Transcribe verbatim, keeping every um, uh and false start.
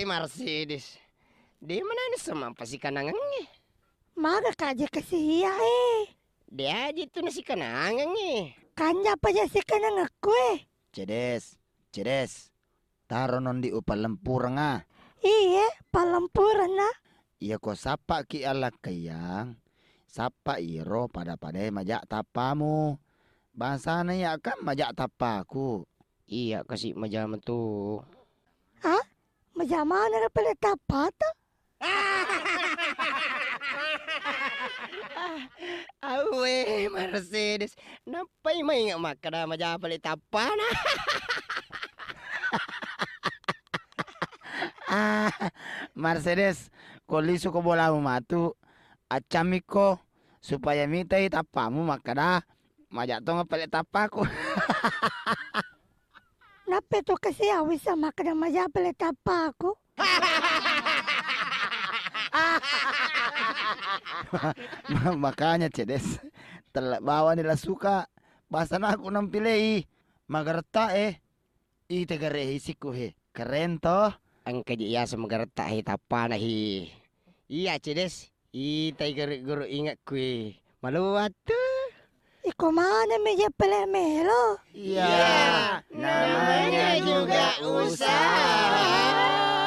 Mercedes. De manani sama pasikanangengnge. Maga kaje kasiya e. De aji tu nasikanangengnge. Kanja paja sikanangekku e. Cedes, cedes. Taro nondi upallempurenga. Iye, pallempurenna. Iya ko sappaki alakkaiyang, sappa iro pada-padae maja tappamu. Bangsana iya kan maja tappaku. Iya kasi maja metu. Ah? Maja maneng pale tappata? Awe, Mercedes. Nappai mainga makkeda maja pale tappana. Ah, Mercedes, ko lisu ko bolamu matu, accammikko supaya mitai tappamu makkeda maja tong pale tappaku. Nappa tu kasiya wissa makkeda maja pale tappaku. Ma-, makanya, Cedes, tella bawani la suka. Basana aku nampilei. Magaretta e. Ite gare isikku he. Keren toh. Engka je yaseng magaretta he tappana he. Iya, Cedes. Itai guru-guru ingekkui. Maluattu. Iko maneng mi je pale melo. Iya, namanya juga usaha.